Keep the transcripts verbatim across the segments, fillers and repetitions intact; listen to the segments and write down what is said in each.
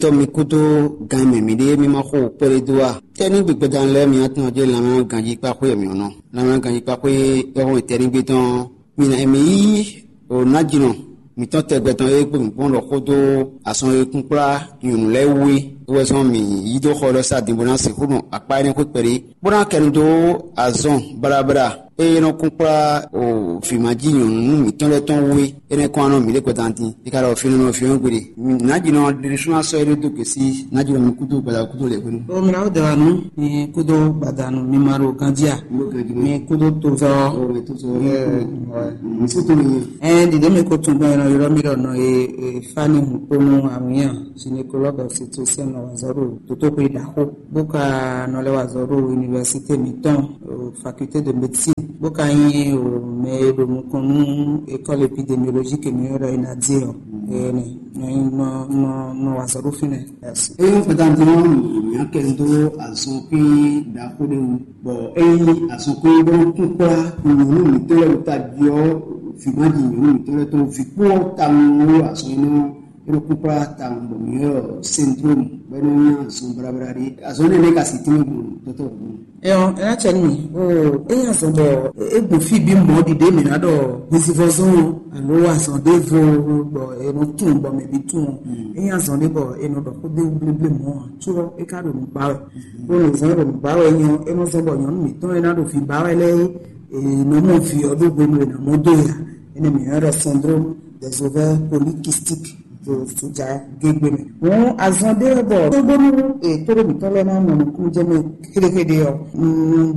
Tɔ́ mi kúdó gan mɛ mǐɖée mì ma xo kpɛɖé dó a? Tɛ́nígbe gbɛdán lɛ́ɛ mi atɔn jɛ lanmɛ ganjí kpáxwé mǐ ɔ́ nɔ. Lanmɛ ganjí kpáxwé yɔ́hɔn tɛ́nígbe tɔn. Mi na mi yí o nájínɔ mǐtɔn tɛgbɛ tɔn e kpo mǐ kpɔ́n ɖɔ xódó asɔn e kún kplá nyɔ̌nu lɛ́ɛ wú é wɛ zɔn mǐ yí dó xɔ lɔ sá din bó ná sixú nɔ akpá énɛ́ xwé kpɛɖé, bó ná kɛ nu dó azɔn baɖabaɖa e nɔ kún kplá o vǐmají nyɔ̌nu mǐtɔn lɛ́ɛ tɔn wú é. Énɛ́ kɔn anɔ mǐ ɖe kpɛtɛ din. É ka ɖɔ fínú nɔ fínú gbeɖe. Nǎjínɔ ɖe ɖésú ná sɔ́ é ɖó dó gěsí. Nǎjínɔ mi kúdó gbada kúdó lɛ hwenu. O mina o dɛwa nu mi kúdó gbada nu mi ma ɖo ganjí a? Mi kúdó tozɔ. Misi to mi. Ɛn ɖiɖe mi ko tun gbɛn nɔ yɔrɔ mi ɖɔ nɔ e e fani hukponu awunya gynécologue obstétricien nɔ wazɔ ɖo tótóxwé ɖaxó bó ka nɔ lɛ wazɔ ɖo université mǐtɔn, o faculté de médecine, bó ka nyí o mɛ e ɖo nukɔn nú école épidémiologique mi ɔ́ ɖɔ é ná dze ɔ. Ɛnɛ nɔ nɔ nɔ nɔ wazɔ ɖo fínɛ. Eye ŋu kpɛtɛ ntɔn mǐ akɛ dó azɔnkwín ɖaxó ɖé wú, bɔ ényí azɔnkwín bó kún kplá nyɔ̌nu mǐtɔn lɛ́ɛ ta jí ɔ́, vǐ ma ji nyɔ̌nu mǐtɔn lɛ́ɛ tɔn vǐ kpó ɔ́ tawun wú azɔn énɛ́ ɔ́, é nɔ kún kplá tawun bɔ mǐ ylɔ́ syndrome bɔ é nɔ nyí azɔn blabla ɖé. Azɔn énɛ́ lɛ́ɛ ka si tínmɛ gbɔn dɔtɔ gbɔn. Ɛyɔ, é ná cɛ nú mì. Oo, é nyí azɔn bɔ é gbɔn fí bí mɔ̌ ɖiɖe mǐ ná ɖɔ hwesivɔzɔn alo azɔn ɖěvo bɔ è nɔ tunwun bɔ mɛ bǐ tunwun. É nyí azɔn ɖé bɔ è nɔ ɖɔ xó ɖé wú bléblé mɔ̌ ǎ, có é ka ɖo nǔ ba wɛ. Bó nɔ zɔn ɖo nǔ ba wɛ nyɔ, é nɔ zɔn bɔ nyɔ̌nu mǐtɔn e ná ɖo vǐ ba wɛ lɛ́ɛ é nɔ mɔ vǐ ɔ́ ɖó hwenu e è nǎ mɔ dó e ǎ. Énɛ́ mǐ ylɔ́ ɖɔ syndrome des ovaires polykystiques ɖo sodza gégbé mɛ. Hǔn azɔn ɖé wɛ bɔ tóbónú tóɖó mǐtɔn lɛ́ɛ ná mɔ nukúnnú jɛ mɛ xéɖéxéɖé ɔ́,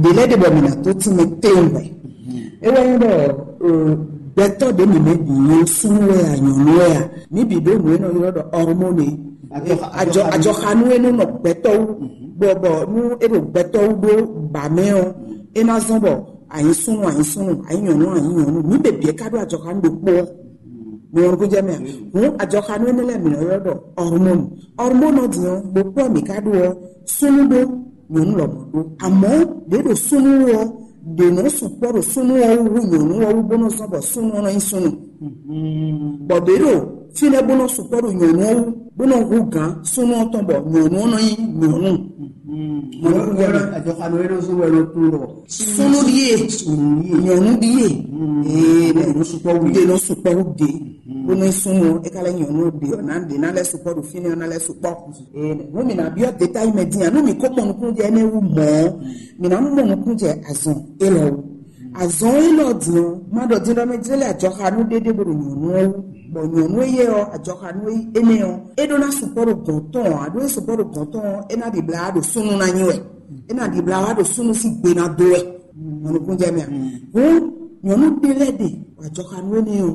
ɖě lɛ́ɛ ɖe bɔ mǐ ná tó tínmɛ kléwún hwɛ. É wɛ nyí ɖɔ gbɛtɔ́ ɖě mǐ mɛ bǐ nyí súnnu wɛ a nyɔ̌nu wɛ a, mǐ bǐ ɖó nǔ e nɔ ylɔ́ ɖɔ hormone. Ajɔxanu e nɔ nɔ gbɛtɔ́ wú bɔ bɔ nú é ɖo gbɛtɔ́ wú ɖó ba mɛ ɔ́, é ná zɔ́n bɔ a nyǐ súnnu a nyǐ súnnu, a nyǐ nyɔ̌nu a nyǐ nyɔ̌nu, mǐ bǐ bǐ é ká ɖó ajɔxanu ɖokpó ɔ́. Mi wɔn gúnjɛ mɛ a? Hǔn ajɔxanu énɛ́ lɛ́ɛ mǐ nɔ ylɔ́ ɖɔ hormone. Hormone ɔ́ din ɔ́, ɖokpó ɔ́ mǐ ka ɖó ɔ́, súnnu ɖó, nyɔ̌nu lɔmɔ̌ ɖó. Àmọ́ ɖě ɖo súnnu wú ɔ́, ɖě nɔ sukpɔ́ ɖo súnnu ɔ́ wú hú nyɔ̌nu ɔ́ wú bó nɔ zɔ́n bɔ súnnu ɔ́ nɔ nyí súnnu. Bɔ ɖě ɖo fínɛ́ bó nɔ sukpɔ́ ɖo nyɔ̌nu ɔ́ wú bó nɔ hú gǎn súnnu ɔ́ tɔn bɔ nyɔ̌nu ɔ́ nɔ nyí nyɔ̌nu. Mɔ̌ nɔ kún jɛ mɛ. Ajɔxanu énɛ́ zɔ́n wɛ nɔ kún ɖɔ Súnnu ɖíe, nyɔ̌nu ɖíe. Ee, ɖe nɔ sukpɔ́ wú ɖe. Bó nɔ súnnu é ka lɛ́ nyɔ̌nu ɖe ɔ́ ná ɖe ná lɛ́ sukpɔ́ ɖo fínɛ́ ɔ́ ná lɛ́ sukpɔ́. Ee, nú mi ná byɔ́ détail mɛ dín a, nú mi kó mɔ nukúnnú jɛ énɛ́ wú mɔ̌, mi ná mɔ nukúnnú jɛ azɔn élɔ́ wú. Azɔn élɔ́ din ɔ́, má ɖɔ dín ɖɔ mɛ jlɛ́ lɛ́ ajɔxanú ɖé ɖé bó ɖo nyɔ̌nu ɔ́ wú, bɔ nyɔ̌nu éyɛ́ ɔ́, ajɔxanú énɛ́ ɔ́, é ɖó ná sukpɔ́ ɖo gɔ̌n tɔn ɔ́, a ɖó é sukpɔ́ ɖo gɔ̌n tɔn ɔ́, é ná ɖibla wá ɖo súnnu ná nyí wɛ. É ná ɖibla wá ɖo súnnu sín gbe ná dó wɛ. Mɔnukúnjɛ mɛ a? Hǔn nyɔ̌nu ɖé lɛ́ɛ ɖe ajɔxanú énɛ́ ɔ́,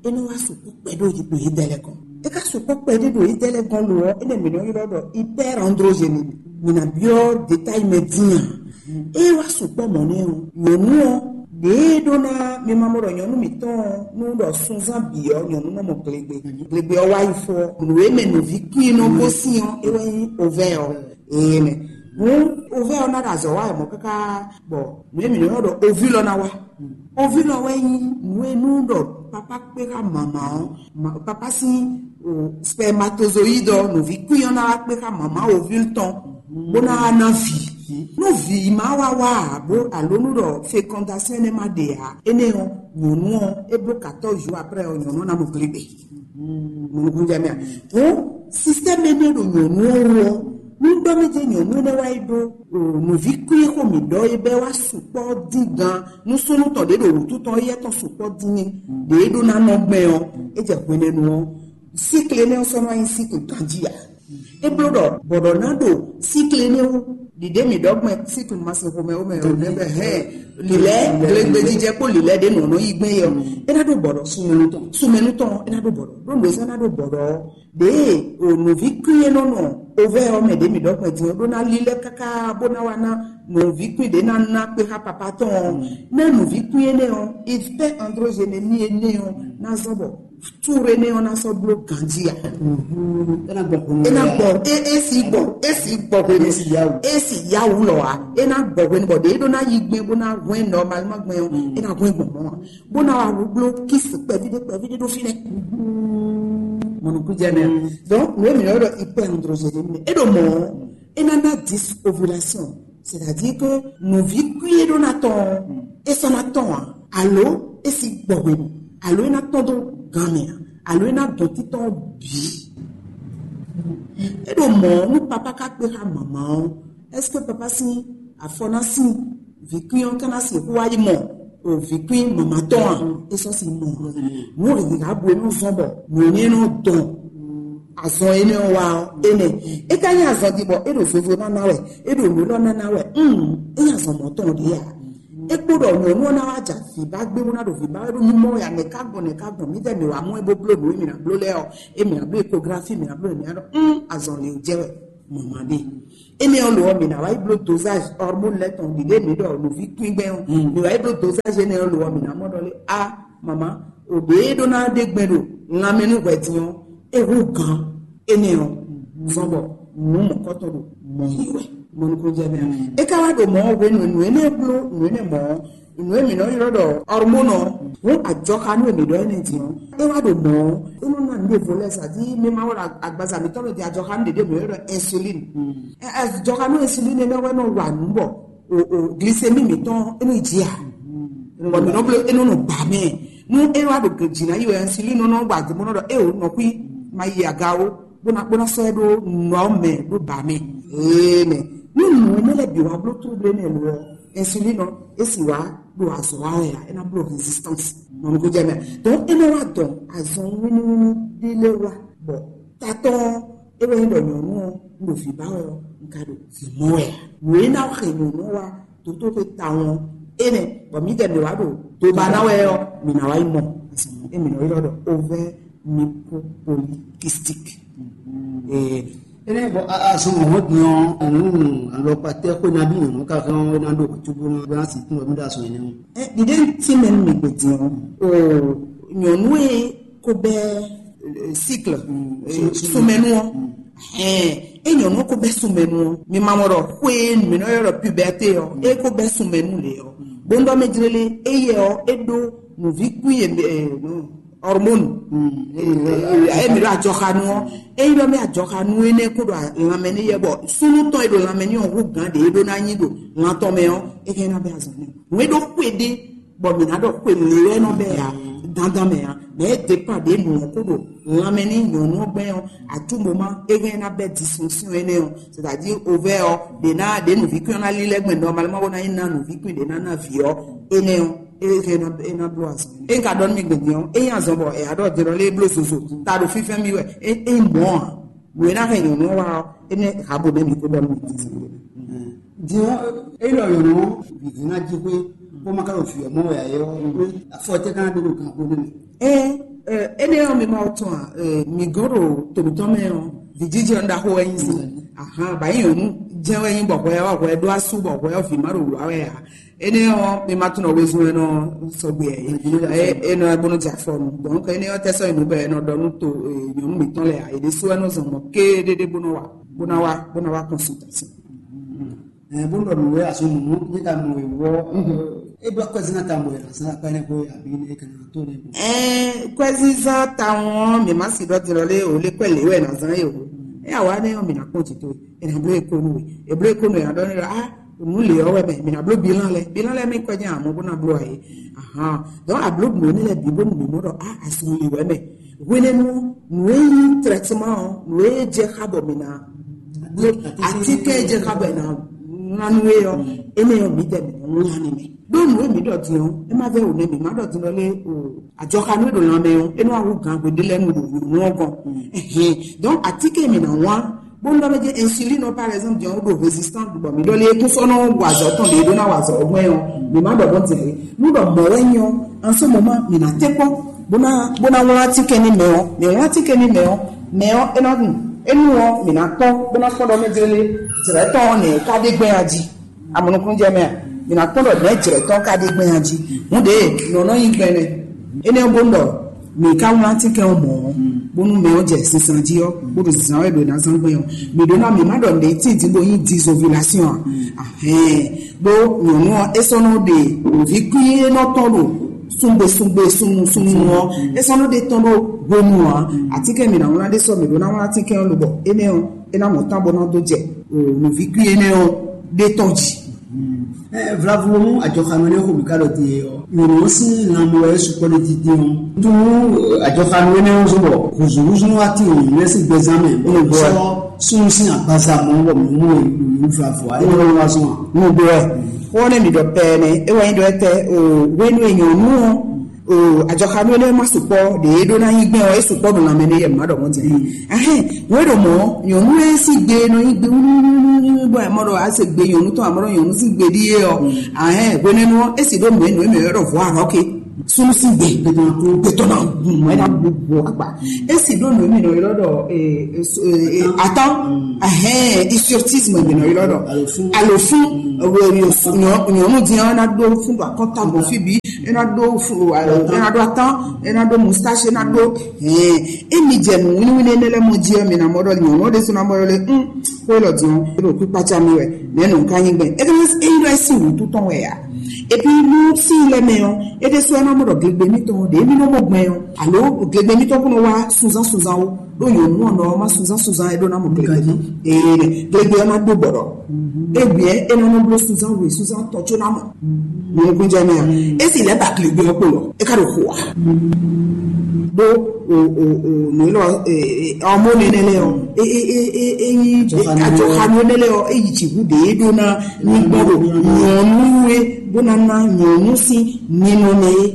é nɔ wá sukpɔ́ kpɛɖé ɖo yědɛ́ lɛ́ɛ gɔ́n. É ka sukpɔ́ kpɛɖé ɖo yědɛ́ lɛ́ɛ gɔ́n lo ɔ́, énɛ́ mǐ nɔ ylɔ́ ɖɔ hyperandrogénie. Mǐ ná byɔ́ détail mɛ dín a? É wá sukpɔ́ mɔ̌ nɛ́ ɔ́, nyɔ̌nu ɔ́, ɖěe ɖó ná mi ma mɔ ɖɔ nyɔ̌nu mǐtɔn ɔ́, nú ɖɔ sunzán bǐ ɔ́, nyɔ̌nu nɔ mɔ glegbe. Glegbe ɔ́ wá yi fó ɔ́, nǔ e mɛ nǔví kwín nɔ gosín ɔ́, é wɛ nyí ovɛ́ ɔ́. Ee mɛ. Hǔn ovɛ́ ɔ́ ná ɖo azɔ̌ wa wɛ mɔ̌ káká bɔ nǔ e mǐ nɔ ylɔ́ ɖɔ ovule ɔ́ ná wá. Ovule ɔ́ wɛ nyí nǔ e nú ɖɔ papá kpé xá mama ɔ́, ma- papá sín o, spermatozoïde ɔ́, nǔví kwín ɔ́ ná wá kpé xá mama ovule tɔn, bó ná wá ná vǐ. Nú vǐ ma wá wá ǎ, bó alo nú ɖɔ fécondation énɛ́ ma ɖe ǎ, énɛ́ ɔ́, nyɔ̌nu ɔ́, é bló quatorze jours après ɔ́, nyɔ̌nu ɔ́ ná mɔ glégbé. Mɔnukúnjɛ mɛ a? Hǔn système énɛ́ ɖo nyɔ̌nu ɔ́ wú ɔ́, nú ɖɔ mɛ jɛ nyɔ̌nu énɛ́ wá yi ɖó o, nǔví kwín xó mǐ ɖɔ é bɛ́ wá sukpɔ́ dín gan nú súnnu tɔn ɖě ɖo wǔtu tɔn éyɛ́ tɔn sukpɔ́ dín ní ɖě é ɖó ná nɔ gbɛn ɔ́, é jɛ hwenɛ́nu ɔ́, síkle énɛ́ ɔ́ sɔ́ nɔ nyí síkle ganjí ǎ. É bló ɖɔ bɔ̌ ɖɔ ná ɖo síkle énɛ́ wú ɖiɖě mǐ ɖɔ gbɛn síkle ma sin xomɛ wú mɛ ɔ́ nɛ́ bɛ hɛn lǐlɛ́ glegbejijɛ kpó lǐlɛ́ ɖě nɔ nɔ yí gbɛn é ɔ́, é ná ɖó bɔ̌ ɖɔ sumɛnu tɔn sumɛnu tɔn é ná ɖó bɔ̌ ɖɔ ɖó nǔ e sɔ́ ná ɖó bɔ̌ ɖɔ ɔ́. Ɖěe o nǔví kwín e nɔ nɔ ovɛ́ ɔ́ mɛ ɖě mǐ ɖɔ gbɛn din ɔ́ ɖó ná lílɛ́ káká bó ná wá ná nǔví kwín ɖě ná ná kpé xá papá tɔn ɔ́, ná nǔví kwín énɛ́ ɔ́, hyper androgénémie énɛ́ ɔ́ ná zɔ́n bɔ túre énɛ́ ɔ́ ná sɔ́ bló ganjí ǎ. É ná gbɔ hwenu. É ná gbɔ é é si gbɔ é si gbɔ hwenu. É si yá wǔ. É si yá wǔ lɔ ǎ. É ná gbɔ hwenu bɔ ɖě é ɖó ná yí gbɛn bó ná hwɛ́n nɔmalima gbɛn ɔ́, é ná hwɛ́n gbɔn mɔ̌ ǎ. Bó ná wá wú bló kísi kpɛví ɖé kpɛví ɖé ɖó fínɛ́. Mɔnukújɛ mɛ. Donc nǔ e mǐ ylɔ́ ɖɔ hyperandrogénie é ɖo mɔ̌, é ná ná disovulation, c'est-à-dire que nǔví kú e ɖó ná tɔn ɔ́, é sɔ́ ná tɔn ǎ, alo é si gbɔ hwenu, alo é ná tɔn dó gan mɛ ǎ, alo é ná dɔn títɔn bǐ. É ɖo mɔ̌ nú papá ka kpé xá mama ɔ́, est-ce que papa sín afɔ ná sín vǐkwín ɔ́ ka ná sixú wá yi mɔ o vǐkwín mama tɔn a? É sɔ́ si mɔ. Nǔ e hǐhǎ bu e nɔ zɔ́n bɔ nǔ énɛ́ nɔ dɔn azɔn énɛ́ ɔ́ wá ɔ́ énɛ́. É ka nyí azɔn din bɔ é ɖo zozo nana wɛ, é ɖo nǔ élɔ́ nana wɛ. Hum, é nyí azɔn mɔ̌ tɔn ɖě a? É kpo ɖɔ nyɔ̌nu ɔ́ ná wá ja vǐ ba gbé bó ná ɖo vǐ ba wɛ ɖó mímɔ wɛ a? Nɛ̌ ka gbɔn, nɛ̌ ka gbɔn? Mǐdɛɛ mǐ wá mɔ ɛ bó bló nǔ e mǐ ná bló lɛ́ɛ ɔ́, é mǐ ná bló échographie, mǐ ná bló nǔ, mǐ ná ɖɔ hum, azɔn lě jɛ wɛ. Mama ɖe. Énɛ́ ɔ́ lo ɔ́, mǐ ná wá yi bló dosage hormone lɛ́ɛ tɔn ɖiɖe mǐ ɖɔ nǔví kwín gbɛn ɔ́. Mǐ wá yi bló dosage énɛ́ ɔ́ lo ɔ́, mǐ ná mɔ ɖɔ lé a mama, o ɖě e ɖó ná ɖe gbɛn ɖo lanmɛ nú hwɛ din ɔ́, é hú gǎn énɛ́ ɔ́. Zɔn bɔ nǔ mɔ̌kɔtɔn ɖo mɔ yi wɛ. Mɔnukúnjɛ mɛ. É ka wá ɖo mɔ̌ hwenu e nǔ énɛ́ bló nǔ énɛ́ mɔ̌ ɔ́, nǔ e mǐ nɔ ylɔ́ ɖɔ hormone ɔ́, hǔn ajɔxanú e mǐ ɖɔ énɛ́ din ɔ́, é wá ɖo mɔ̌ ɔ́, é nɔ ná nǔɖé vo lɛ́ɛ sa jí mɛ ma wá ɖo agbaza mǐtɔn mɛ din ajɔxanú ɖě ɖě mǐ nɔ ylɔ́ ɖɔ insuline. Ajɔxanú insuline énɛ́ wɛ nɔ wa nǔ bɔ o o glycémie mǐtɔn é nɔ yi jí a. Bɔ mǐ nɔ bló é nɔ nɔ ba mɛ. Nú é wá ɖo jǐ ná yi wɛ insuline nɔ nɔ wa dó bó nɔ ɖɔ é o nɔ xwí ma yi aga ó, bó ná bó ná sɔ́ ɛ ɖó nɔ mɛ ɖó ba mɛ. Ee mɛ. Nú nǔ énɛ́ lɛ́ɛ bǐ wá bló trouble énɛ́ lo ɔ́, insuline ɔ́, é sì wá ɖo azɔ̌ wa wɛ ǎ, é ná bló résistance. Mɔnukújɛ mɛ. Donc é nɔ wá dɔn azɔn wínníwínní ɖé lɛ́ɛ wá bɔ tatɔ́ ɔ́, é wɛ nyí ɖɔ nyɔ̌nu ɔ́, un ɖo vǐ ba wɛ ɔ́, un ka ɖo vǐ mɔ wɛ ǎ. Nǔ e ná xɛ nyɔ̌nu ɔ́ wá dǒtó xwe tawun ɔ́, énɛ́ bɔ mǐdɛɛ mǐ wá ɖo doba ná wɛ ɔ́, mǐ ná wá yi mɔ. Azɔn émí nɔ ylɔ́ ɖɔ ovaire micropolycystique. Ee, Ene bɔ azɔn mɔ̌ din ɔ́, ɔ̀hún alɔkpatɛ xwe nabí nyɔ̌nu ka hɛn ɔ́ ná ɖo wɛ̌cúgbó ná bó ná sixú wɛ mí ɖo azɔn énɛ́ ɔ́. Ɛ ɖiɖe ŋuti mɛ nú mi gbedin ɔ́, o nyɔ̌nu e ko bɛ cycle sunmɛnu ɔ́, ɛn e nyɔ̌nu ko bɛ sunmɛnu ɔ́, mi ma mɔ ɖɔ xwe mi nɔ ylɔ́ ɖɔ puberté ɔ́, e ko bɛ sunmɛnu lě ɔ́, bó ŋɖɔ mɛ jlélé, éyɛ ɔ́, é ɖó nǔví kú yě hormone. Emi ɖo adzɔxanu ɔ́, eyi ɖɔ mɛ adzɔxanu énɛ́ kó ɖo lanmɛ ní yɛ bɔ súnú tɔn e ɖo lanmɛ ní ɔ́ hú gǎn ɖě e ɖó ná nyi ɖo lan tɔn mɛ ɔ́, é hɛn ná bɛ azɔn nɛ. Wé ɖó xwé ɖé bɔ mǐ ná ɖɔ xwe lě wɛ nɔ bɛ ya dandan mɛ ya, mɛ é dépend ɖě nǔ ɔ́ kó ɖo lanmɛ ní nyɔ̌nu ɔ́ gbɛn ɔ́, atúmɔmá é hɛn ná bɛ disfonction énɛ́ ɔ́, c'est-à-dire ovaire ɔ́ ɖě ná ɖě nǔví kún ɔ́ ná lílɛ́ gbɛn normalement bó ná nyí ná nǔví kún ɖě ná ná vǐ ɔ́ énɛ́ ɔ́. Eye é ná é ná bló azɔn. É ka ɖɔ nú mi gbɛn din ɔ́, é nyí azɔn bɔ è ya ɖɔ din ɔ́ lé bló zozo, ta ɖo fínfɛ́n mì wɛ, é é nyí mɔ̌ ǎ. Nǔ e ná hɛn nyɔ̌nu ɔ́ wá ɔ́, énɛ́ hǎbo nɛ́ mi kó ɖɔ nú mi din. Din ɔ́, é ɖɔ nyɔ̌nu ɔ́, vǐ ná jí xwé, bó ma ka ɖo vǐ ɔ́ mɔ wɛ ǎ é ɔ́, afɔ tɛ́ ká ná ɖó ɖo gǎn xó nɛ́ mɛ. Ɛ ɛ énɛ́ ɔ́ mi ma tɔn a, mi gɔ́n ɖo tòmítɔn mɛ ɔ́, vǐjijɛ ɔ́ ɖaxó wɛ nyí si. Ahan, bǎ nyí nyɔ̌nu jɛ́n wɛ nyí bɔ hwɛ ɔ́ hwɛ ɖó asú bɔ hwɛ ɔ́ vǐ ma ɖo wǔ wá wɛ ǎ. Énɛ́ ɔ́, mi ma tunɔ wezun e nɔ sɔgbe ɛ é nɔ bó nɔ jɛ afɔ nu. Donc énɛ́ ɔ́ tɛ́ sɔ́ yi nǔ bɔ è nɔ ɖɔ nú to nyɔ̌nu mǐtɔn lɛ́ɛ ǎ. È ɖésú wɛ nɔ zɔn mɔ̌ kéɖéɖé bó nɔ wa bó ná wá bó ná wá consultation. Ɛ bó nɔ nǔ wɛ azɔn nǔ ní ka nɔ wɔ é ɖɔ kwɛzínà ta mɔ ɛ zan akpa ne ko abi ne kana to ne ko. Ɛ kwɛzínzán tawun ɔ́, mi ma si ɖɔ dirɔ lé o lé kwɛ lé wɛ na zan yě o. É awa ne ɔ́ mi na kpɔn jì tó. È nà bló e kó nú we. È bló e kó nú we aɖɔ ne ɖɔ a nǔ lě ɔ́ wɛ mɛ mi nà bló bilan lɛ bilan lɛ mi kɔ nyɛ àmọ́ bó ná bló ayé. Ahan, donc abló nǔ énɛ́ lɛ bǐ bónú mǐ mɔ ɖɔ a azɔn lě wɛ mɛ. Hwenɛ́nu nǔ e nyí traitement ɔ́, nǔ e jɛ xá bɔ mǐ ná bló atínkɛn e jɛ xá bɔ è nǎ ŋlá nú é ɔ́, énɛ́ ɔ́ mǐdɛɛ mǐ nɔ ŋlá ni mɛ. Ɖó nǔ e mǐ ɖɔ din ɔ́, é má vɛ́ wǒ nɛ́ mǐ má ɖɔ din ɔ́ lé o. Ajɔxanú e ɖo lanmɛ ɔ́, é nɔ wá hú gǎn hweɖé lɛ́ɛ nu ɖo nǔ ɔ́ gɔ́n. Ɛhɛn. Donc atínkɛn mǐ ná wlán bó nɔ mɛ jɛ insuline ɔ́ par exemple jɛn wó ɖo résistance bɔ mi ɖɔ lé kún sɔ́ nɔ wa azɔ̌ tɔn ɖě ɖó ná wa azɔ̌ ɔ́ gbɛn ɔ́, mi ma ɖɔ bɔ dze nú ɖɔ mɔ̌ wɛ nyɔ en ce moment mi na tɛ kpɔ bó ná bó ná wlán atínkɛn ní mɛ ɔ́, mi wlán atínkɛn ní mɛ ɔ́, mɛ ɔ́ é ná ɖu enu ɔ́ mi na kpɔn bó ná kpɔn ɖɔ mɛ jɛ lé jrɛ tɔn ɔ́ nɛ ká ɖé gbɛn aji. Amɔnukúnjɛ mɛ a, mi na kpɔn ɖɔ nɛ̌ jrɛ tɔn ká ɖé gbɛn aji. Hǔn ɖě nɔ nɔ nyi gbɛn nɛ. Énɛ́ ɔ́ bó ɖɔ mǐ ka wlán atínkɛn ɔ́ mɔ̌ ɔ́, bónú mɛ ɔ́ jɛ sisan jí ɔ́, bó ɖo zǐzán wɛ ɖo ná zán gbɛn ɔ́, mǐ ɖó ná mǐ má ɖɔ nǔɖé tíin dín bó nyí disovulation a? Ahɛn, ɖó nyɔ̌nu ɔ́ é sɔ́ nɔ ɖe nǔví kwín e nɔ tɔn ɖo Sungbe sungbe sunnu sunnu ɔ́, é sɔ́ nɔ ɖe tɔn ɖó hwenu ǎ. Atínkɛn mǐ ná wlán ɖé sɔ́ mǐ ɖó ná wlán atínkɛn ɔ́ lobɔ énɛ́ ɔ́, é ná mɔ tán bɔ ná dó jɛ nǔvíkú énɛ́ ɔ́ ɖé tɔn jí. Vlavo mú ajɔxanú énɛ́ xo mǐ ká ɖɔ din é ɔ́, nyɔ̌nu ɔ́ sín lanmɛ wɛ é sukpɔ́ ɖé dídí ɔ́. Nú ajɔxanú énɛ́ ɔ́ zɔ́n bɔ hǔzúhúzú wá tín nyɔ̌nu lɛ́ɛ sín gbɛzán mɛ, bó nɔ sɔ́ súnnu sín agbaza mɔ bɔ mǐ mú we ɖo vlavo ǎ, é nɔ wá zɔ́n ǎ. Nǔgbó wɛ. Xó ɔ́ nɛ́ mǐ ɖɔ pɛɛ nɛ́, é wá nyí ɖɔ étɛ́, hwenu e nyɔ̌nu ɔ́, ajɔxanú énɛ́ ma sukpɔ́ ɖě é ɖó ná nyí gbɛn ɔ́, é sukpɔ́ ɖo lanmɛ n'i yɛ mǐ ma ɖɔ mɔ̌ din. Ahɛn, wě ɖo mɔ̌, nyɔ̌nu e sín gbe nɔ nyí gbe wúlúwúlúwúlú bɔ ɛ mɔ ɖɔ a se gbe nyɔ̌nu tɔn, a mɔ ɖɔ nyɔ̌nu sín gbe ɖíe ɔ́. Ahɛn, hwenɛ́nu ɔ́, é sì ɖó nǔ e nǔ e mǐ ylɔ́ ɖɔ vɔ̌ arɔ́ ké. Súnnu sín gbe gbɛtɔ́ ná kú, gbɛtɔ́ ná gun, é ná bu bu agba. É sì ɖó nǔ e mǐ nɔ ylɔ́ ɖɔ atán, ahɛn, isiotisme mǐ nɔ ylɔ́ ɖɔ alofún. Nyɔ̌nu din ɔ́, é ná ɖó fún ɖo akɔ́nta gbɔn fí bǐ, é ná ɖó fún, é ná ɖó atán, é ná ɖó moustache, é ná ɖó hɛn. Émi jɛ nǔ wínníwínní énɛ́ lɛ́ɛ mɔ jí ɔ́, mi ná mɔ ɖɔ nyɔ̌nu ɔ́ ɖésú ná mɔ ɖɔ lé, xó élɔ́ din ɔ́, é ɖo kpíkpácá mì wɛ, nɛ̌ nɔ ka nyi gbɛn? É ɖɔ é nyí ɖɔ é sín wǔtu tɔn wɛ ǎ. Epi nú sín lɛ́ mɛ ɔ́, é ɖésú ɔ́ ná mɔ ɖɔ glegbe mítɔn ɖě mí nɔ mɔ gbɛn ɔ́, alo glegbe mítɔn kún nɔ wá sunzán sunzán ó. Ɖó nyɔ̌nu ɔ́ nɔ ɔ́ má sunzán sunzán é ɖó ná mɔ glegbe tɔn. Ee, glegbe ɔ́ ná ɖó gbɔɖɔ. Egbě é nɔ nɔ bló sunzán we sunzán tɔn có ná mɔ. Nukúnjɛmɛ ɔ́, esi lɛ́ ba glegbe ɔ́ kpo lɔ, é ka ɖo xo wa. Ɖó o o o nǔ élɔ́ ɔmóni énɛ́ lɛ́ɛ ɔ́, é é é é é nyí ajɔxanu énɛ́ lɛ́ɛ ɔ́, é yi jǐ hú ɖě é ɖó ná ní gbɔn ɖo nyɔ̌nu e bó ná ná nyɔ̌nu sín ninɔmɛ é.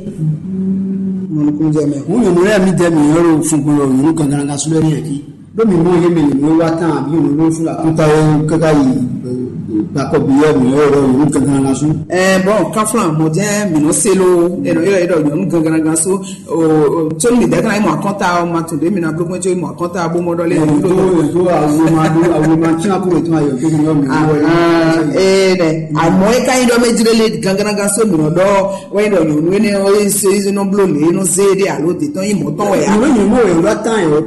Nukúnjɛmɛ ɔ́. Hǔn nyɔ̌nu lɛ́ɛ mi dɛ mǐ ɔ́ ɖo fúngbɔn ɖo nyɔ̌nu gangan sú lɛ́ɛ ní yɛn jí. Ɖó mi mɔ yé mɛ nyɔ̌nu e wá tán abǐ nyɔ̌nu e fún akúta é káká yi gbakɔ bǐ wɛ mǐ ɔ́ ɖɔ nyɔ̌nu gangan ná sú. Ɛ bɔn káflán mɔ jẹ́ mǐ nɔ se lo ɛnɔ yɔ yɛ ɖɔ nyɔ̌nu gangan ná sú. Tsónú mi dɛ́ ká yi mɔ akɔ́nta ɔ́ ma tún ɖé mi ná bló gbɔn tsó yi mɔ akɔ́nta bó mɔ ɖɔ lé. Ètò ètò àwòrán àwòrán tí a kúrò tó ayọ̀ tó ní ọ̀mí wọlé. Ee nɛ àmọ́ é ká yi ɖɔ mɛ jírélé gangan ná sú mǐ nɔ ɖɔ wɛ ɖɔ nyɔ̌nu énɛ́ ɔ́ é se é nɔ bló lě é nɔ zé ɖé alo dě tɔn yi mɔ̌ tɔn wɛ a. Ìwé yìí mọ̀ wẹ̀ wá tán ẹ̀ wá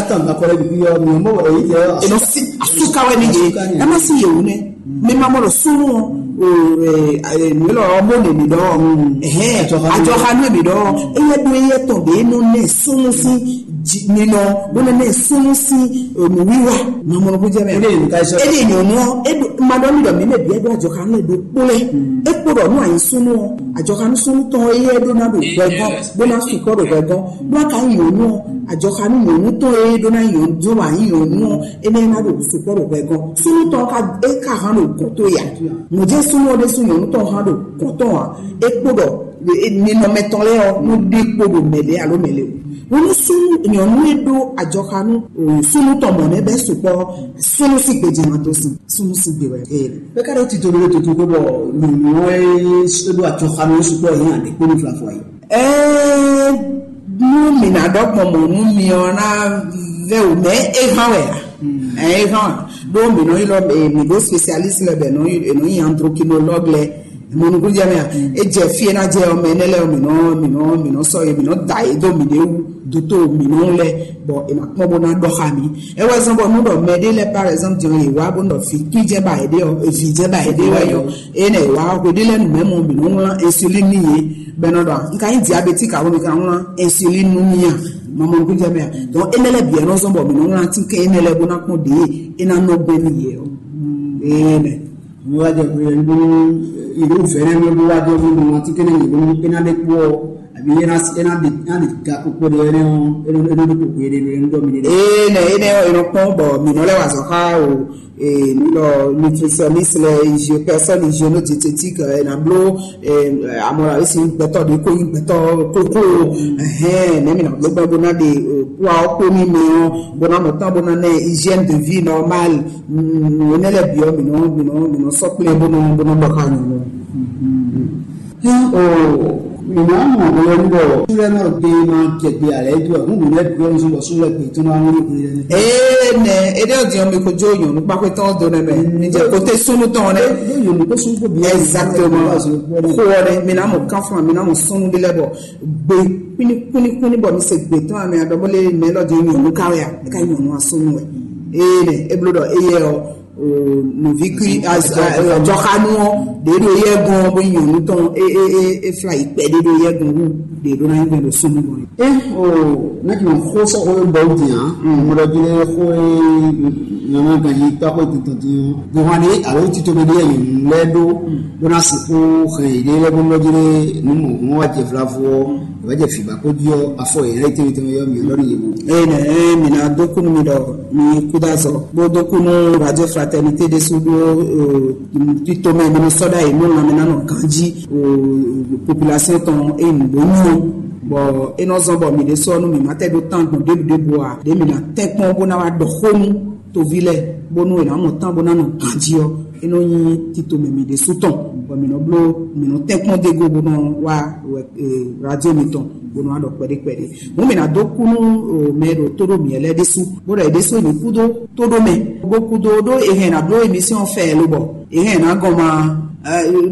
tán gba kọ́lẹ́ bí yọ mi mọ̀ wẹ̀ yìí jẹ́. Eno si asuka wɛ ni ye. Asuka ni. Ẹ má sí yẹ̀wò nẹ. Mi ma mọ̀ lọ súnmọ́ o ẹ ẹ mi lọ ọmọ nìyí dọ́. Ẹ̀hẹ́ àjọ hanu èmi dọ́. Eyẹ dún eyẹ tọ̀ dé inú nẹ súnmọ́ sí ninɔ bó nẹ súnmọ́ sí nù wíwá. Màmúlò kó jẹ́ mẹ́. Ede yìí ká sọ. Ede yìí nù ọ́ edo madɔ mi dɔ mi mɛ bi edo àjọ hanu edo kpólɛ. Ekpó dɔ nù àyè súnmọ́ àjọ hanu súnmọ́ tán eyẹ dó ná do gbẹgán bó ná sùkọ́ do gbẹgán bó ná ka yìí nù ọ́ àjọ hanu nù tán eyẹ dó ná yìí dó wà yìí nù ọ́ ene ná do sùkọ́ do gbẹgán súnmọ́ tán ka e ka hàn do gɔ̀tó yà. Mɔ̀jẹ́ súnmọ́ de sún nyɔ̀nú tán hàn do gɔ̀tó hàn ekpó dɔ ninɔmɛtɔn lɛ ɔ nú ɖe kpo ɖo mɛlɛ alo mɛlɛ o. Wonu súnnu nyɔnu e ɖó adzɔxanu súnnu tɔn mɔ nɛ bɛ sukpɔ súnnu si gbedze ma dó sin súnnu si gbe wɛ ee. Bɛ ka ɖo tito ɖo toto ko bɔ nyɔnu e ɖó adzɔxanu sukpɔ yìí hàn ɖe kpóni fla fɔ yi. Ɛɛ nú mi na ɖɔ gbɔn mɔ nú mi ɔ na vɛ o mɛ e hàn wɛ a. Ɛ e hàn wɛ ɖó mi nɔ yi lɔ mi ɖó spécialiste lɛ bɛ nɔ yi nɔ yi androkinologue lɛ. Mɔnukúnjɛ mɛ a e jɛ fie ná jɛ ɔmɛ nɛ lɛ mɛ nɔ mɛ nɔ mɛ nɔ sɔ ye mɛ nɔ da ye dó mi ɖe wu doto mi nɔ lɛ bɔ e ma kpɔn bó ná dɔ xa mi. E wɛ zɔn bɔ nu dɔ mɛ ɖe lɛ par exemple diɔ ye wa bó nɔ fi kí jɛ ba ye ɖe ɔ evi jɛ ba ye ɖe wɛ yɔ e nɛ wa hwe ɖe lɛ nu mɛ mɔ mi nɔ ŋlɔ insuline ni ye bɛ nɔ dɔ n ka nyi diabétique awo mi ka ŋlɔ insuline nu mi a mɔnukúnjɛ mɛ a donc e nɛ lɛ biɛ nɔ zɔn bɔ mi nɔ ŋlɔ atin kɛ e nɛ lɛ bó ná kpɔn ɖe e ná nɔ gbɛ mi ye ɔ ee nɛ. Wíwájɛ kúrú yẹn bó ìlú fẹ́rẹ́ ló bó wájọ fún mi wọn tí kéde yìí bó ní pénálé kú ọ àbí yẹn náà yẹn náà di náà di ga kókó de yẹn náà yẹn náà di kókó yẹn de yẹn dọ́ mi de. Ee nɛ enɛ ɔ enɔ kpɔn bɔ mi nɔ lɛ wa zɔ xa o ee mi lɔ nutritionniste lɛ hygiène personne hygiéno diététique ɛ na blo ee amɔ la esi gbɛtɔ de ko yi gbɛtɔ koko ɛhɛn nɛ mi na blo gbɛ bo na de kua ɔkpɔ mi mɛ ɔ bo na mɔ tán bo na nɛ hygiène de vie normale. Nǔ énɛ́ lɛ́ɛ bǐ ɔ́, mǐ nɔ mǐ nɔ mǐ nɔ sɔ́ kplé bó nɔ bó nɔ ɖɔ xá nyɔ̌nu. Hɛn o mǐ ná mɔ hwelɛ́nu bɔ súnlɛ́ nɔ gbe ma jɛ gbe alɛ é dó wɛ hǔn mǐ lɛ́ bǐ ɔ́ nɔ sɔ́ bɔ súnlɛ́ gbe tɔn ná wlí hwelɛ́nu. Ee nɛ é ɖe ɔ́ din ɔ́ mi ko jó nyɔ̌nu kpákpé tɔn ɔ́ dó nɛ mɛ mi jɛ kóté súnnu tɔn ɔ́ nɛ. Ɖó nyɔ̌nu kó súnnu kó bǐ. Exactement. Xó ɔ́ nɛ mi ná mɔ kánfún mi ná mɔ súnnu ɖé lɛ́ɛ bɔ gbe kúnní kúnní kúnní bɔ mi se gbe tɔn amɛ aɖɔ bó lé mɛ lɔ din nyɔ̌nu ká wɛ a é ká nyɔ̌nu asúnnu wɛ. Ee nɛ é bló ɖɔ éyɛ ɔ́ Nɔví kí jɔxanu ɔ́ ɖě ɖo yɛ gɔn bó nyɔ̌nu tɔn é é é é fla yi kpɛ ɖé ɖo yɛ gɔn wú ɖě ɖó ná nyí gbɛn ɖo súnnu gɔn. E o ne kì í xó sɔxó e bɔ wúti hã, mo ɖɔ jí lé xó e nyɔ̌nu ganjí tɔ́ xó tɔn dín ɔ́, gbɔn hwan ɖé alo tito ɖé ɖé nyɔ̌nu lɛ́ɛ ɖó bó ná sixú hɛn yě ɖé lɛ́ɛ bó nɔ jí lé nú mɔ hɔn wá jɛ vlavo ɔ́, wá jɛ fǐbá kó jí ɔ́, afɔ yě lɛ́ɛ tɛnmɛ tɛnmɛ yɔ mǐ lɔ ní yě wú. Eye nɛ mi ná dó kú nú mi ɖɔ mi kú dó azɔ bó dó kú nú Radio Fraternité ɖésú ɖó tito mɛ mi nɔ sɔ́ ɖ'ayǐ nú lanmɛ ná nɔ ganjí population tɔn e nǔgbó nyí o. Bɔ é nɔ zɔ́n bɔ mǐ ɖésú ɔ́ nú mǐ ma tɛ ɖó tán gbɔn ɖěbǔ ɖěbǔ ǎ, ɖě mǐ ná tɛ́nkpɔ́n bó ná wá ɖɔ xó nú toví lɛ́ɛ bónú è nǎ mɔ tán bó ná nɔ ganjí ɔ́, é nɔ nyí tito mɛ mǐ ɖésú tɔn, bɔ mǐ nɔ bló mǐ nɔ tɛ́nkpɔ́n dó go bó nɔ wá radio mitɔn bó nɔ wá ɖɔ kpɛɖé kpɛɖé. Hǔn mǐ ná dó kú nú mɛ e ɖo tó ɖó mǐ lɛ́ɛ ɖésú, bó ɖɔ yě ɖésú è nǐ kú dó tó ɖó mɛ, bó kú dó ɖó è hɛn ná bló émission fɛ lobɔ è hɛn ná gɔn ma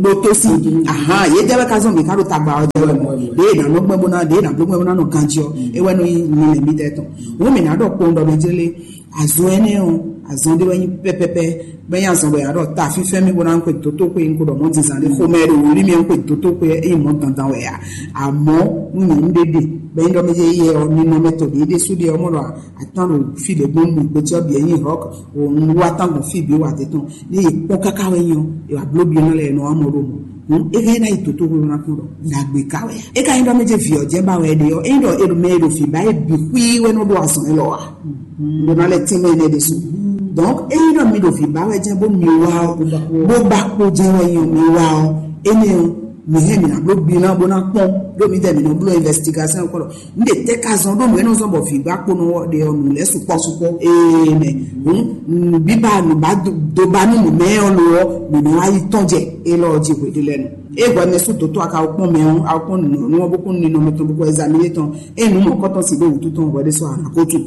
ɖó tó sí. Ahan, yě jɛ wɛ ka zɔn mǐ ká ɖo tagba ɔ́ jɛ wɛ mɔ ɖě è nǎ nɔ gbɛn bó ná ɖě è nǎ bló gbɛn bó ná nɔ ganjí ɔ́, é wɛ nɔ nyí nilɛ mǐtɛɛ tɔn. Hǔn mǐ ná ɖɔ kpowun ɖɔ mɛ jlé azɔn énɛ́ ɔ́, azɔn ɖé wɛ nyí pɛpɛpɛ, bɔ é nyí azɔn bɔ è nǎ ɖɔ ta fínfɛ́n mì bó ná ń xwe dótóxwé, un ko ɖɔ mɔ̌ zǐnzán ɖé xomɛ ɖo wǔlí mì, un xwe dótóxwé é nyí mɔ̌ dandan wɛ ǎ. Amɔ̌ nú nyɔ̌nu ɖé ɖe bɔ é nyí ɖɔ mɛ yɛ ɔ́, ninɔmɛ tɔn ɖě ɖésú ɖe ɔ́ mɔ ɖɔ atán ɖo fí ɖě gbɔn nu gbéjɛ ɔ́ bǐ é nyí hɔk, un wá tán gbɔn fí bǐ wǎ dé tɔn ní è kpɔ́n káká wɛ nyí ɔ́, è wǎ bló byɔ́ lɛ́ɛ nɔ wá mɔ ɖó mɔ. Hǔn é hɛn ná yi dǒtóxwé ná kún ɖɔ ɖagbe ka wɛ ǎ. É ka nyí ɖɔ mɛ jɛ vǐ ɔ́ jɛ́n ba wɛ ɖe ɔ́, é nyí ɖɔ è ɖo mɛ e ɖo vǐ ba é bǐ xwí wɛ nɔ ɖo azɔn élɔ́ ǎ. Ɖo ná lɛ tínmɛ énɛ́ ɖésú. Donc é nyí ɖɔ mi ɖo vǐ ba wɛ jɛ́n bó mi wá ɔ́, bó ba kpo jɛ́n wɛ nyí ɔ́ mi wá ɔ́, énɛ́ ɔ́ mi hɛn mi ná bló gbiná bó ná kpɔ́n ɖó mi dɛ mi nɔ bló investigation kpɔ́ ɖɔ un ɖe tɛ́ ka zɔn ɖó nǔ e nɔ zɔn bɔ vǐ gba kpo nɔ ɖe ɔ nǔ lɛ́ɛ sukpɔ́ sukpɔ́. Ee nɛ hǔn nǔbíbá nǔbá dó ba nú nǔ mɛ ɔ́ lo ɔ́, mǐ nɔ wá yi tɔ́n jɛ élɔ́ ɔ́ jí hweɖé lɛ́ɛ nu. É hwɛ mɛ sú dǒtó aka kpɔ́n mɛ ɔ́, a kpɔ́n nǔ ɔ́ bó kún ninɔmɛ tɔn bó kɔ ɛzamíné tɔn. É nǔ mɔ̌kɔ́tɔn sì ɖó wǔtu tɔn hwɛ ɖé sɔ́ anakótu.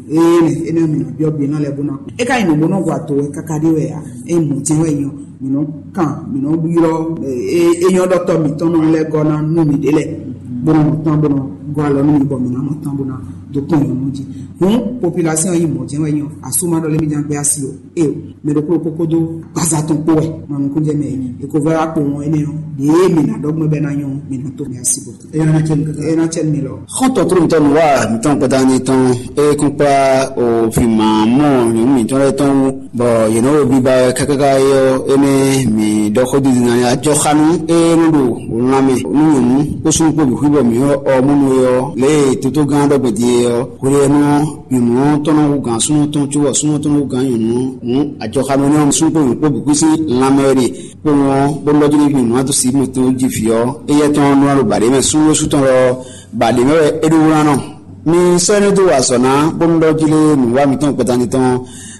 Ee nɛ énɛ́ mǐ nɔ byɔ́ gbe ná lɛ́ɛ bó ná kú. É ka nyí nǔ bó nɔ hu ato wɛ káká ɖé wɛ ǎ. É mɔ jɛ́n wɛ nyɔ. Mǐ nɔ kan, mǐ nɔ ylɔ́ é é nyɔ́ ɖɔtɔ́ mǐtɔn nɔ lɛ́ gɔ́ ná nú mǐ ɖě lɛ́ɛ. Bó nɔ mɔ tán bó nɔ gɔ́ alɔ nú mǐ bɔ mǐ ná mɔ tán bó ná dó kpɔ́n nyɔ̌nu jí. Hǔn population yi mɔ jɛ́n wɛ nyɔ. Asú ma ɖɔ lé mì ján gbé asi o. É o, mɛ ɖokpó ɖokpó kpódó gbaza tɔn kpó wɛ. Mɔ nukúnjɛ mɛ e ko vɛ wá kpo wɔn énɛ́ ɔ́, ɖěe mǐ ná ɖɔ gbɔn bɛ ná nyɔ, mǐ ná tó mǐ asi bɔ. É ná cɛ mi kaka. É ná cɛ mi lɔ. Xɔ́ntɔn tó ntɔ́ nǔ wa mǐtɔn kpɛta ní tɔn é kún kplá o fǐ ma mɔ nyɔ̌nu mǐtɔn lɛ́ɛ tɔn wú, bɔ yě nɔ wo biba wɛ kákáká é ɔ́, énɛ́ mǐ ɖɔ xó didi ná ajɔ xá nú é nɔ ɖo wǒ lan mɛ nú nyɔ̌nu kó súnnu kpó bǐ xwí bɔ mǐ ɔ mɔnú é ɔ́, lě e tótógán ɖɔ gbɛ́ din é ɔ́, hwelɛ́nú nyɔ̌nu ɔ́ tɔn nɔ hú gǎn súnnu tɔn cóbɔ súnnu ɔ́ tɔn nɔ hú gǎn nyɔ̌nu ɔ́ hǔn ajɔxanú énɛ́ ɔ́ súnnu kpó nyɔ̌nu kpó bǐ kú sín lanmɛ wɛ ɖe kpowun ɔ́ bó lɔ́ jí nú nyɔ̌nu ɔ́ dó sí mɔtɔn jí vǐ ɔ́, éyɛ́ tɔn nɔ ɖo bǎɖé mɛ súnnu sú tɔn lɔ bǎɖé mɛ wɛ é ɖó wlán nɔ. Mi sɔ́ énɛ́ dó wa azɔ̌ ná bónú ɖɔ jí lé nǔwá mǐtɔn gbɛtani tɔn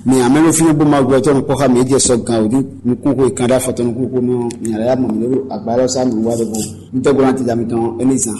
mi amɛ́ ɖo fínɛ́ bó ma gbɔ tɔn kpɔ́ xá mi é jɛ sɔ gan wǒ dí nukún xo e kan ɖó afɔ tɔn nukún xo nɔ nya lɛ́ ya mɔ mǐ ɖo agbá élɔ́ sá nǔwá ɖɔhun. Un tɛ́ gbló ná tija mitɔn énɛ́ zán.